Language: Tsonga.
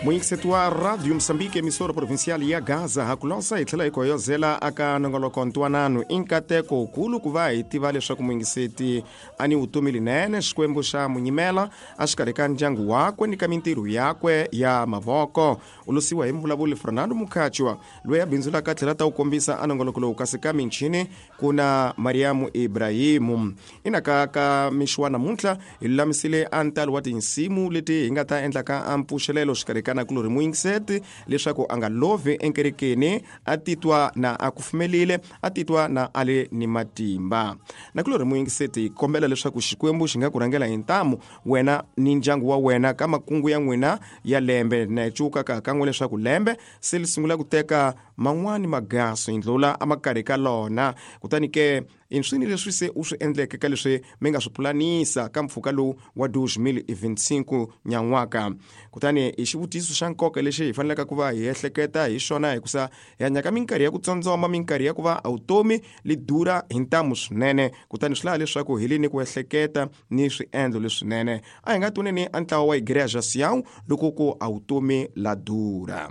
Muyingiseti wa Radio Moçambique, emissora provincial ya Gaza, ha ku losa hi tlhela hi koyozela aka nongoloko ntwanano. I nkateko wukulu ku va hi tiva leswaku muyingiseti a ni vutomi linene, Xikwembu xa munyimela exikarhi ka ndyangu wakwe ni ka mintirho yakwe ya mavoko. U losiwa hi mvulavuli Fernando Mukhachwa, loyi a bindzulaka a tlhela ta wu kombisa a nongoloko lowu, kasi ka michini ku na Mariamu Ibrahimu. Ina ka ka mixo wa namuntlha hi lulamisile a ntalo wa tinsimu leti hi nga ta endlaka a mpfuxelelo xikarhi ka nakulorhi muyingiseti leswaku a nga lovhi enkerekeni, a titwa na a kufumelile, a titwa na a le ni matimba. Nakulorhi muyingiseti, hi kombela leswaku Xikwembu xi nga ku rhangela hi ntamu wena ni ndyangu wa wena ka makungu ya n'wina ya lembe. Na hi cuka ka kan'we leswaku lembe se li sungula ku teka man'wani magaso hi ndlula a makarhi ka lona. Kutani ke i swini leswi se u swi endleke ka leswi mi nga swi pulanisa ka mpfhuka lowu wa 2025 nyan'waka? Kutani i xivutiso xa nkoka lexi hi faneleke ku va hi ehleketa hi xona, hikusa hi hanya ka minkarhi ya ku tsondzoma, minkarhi ya ku va vutomi li durha hi ntamu swinene. Kutani swi lava leswaku hi li ni ku ehleketa ni swiendlo leswinene. A hi nga twaneni a ntlawa wa Igreja Sião loko ku a vutomi la durha.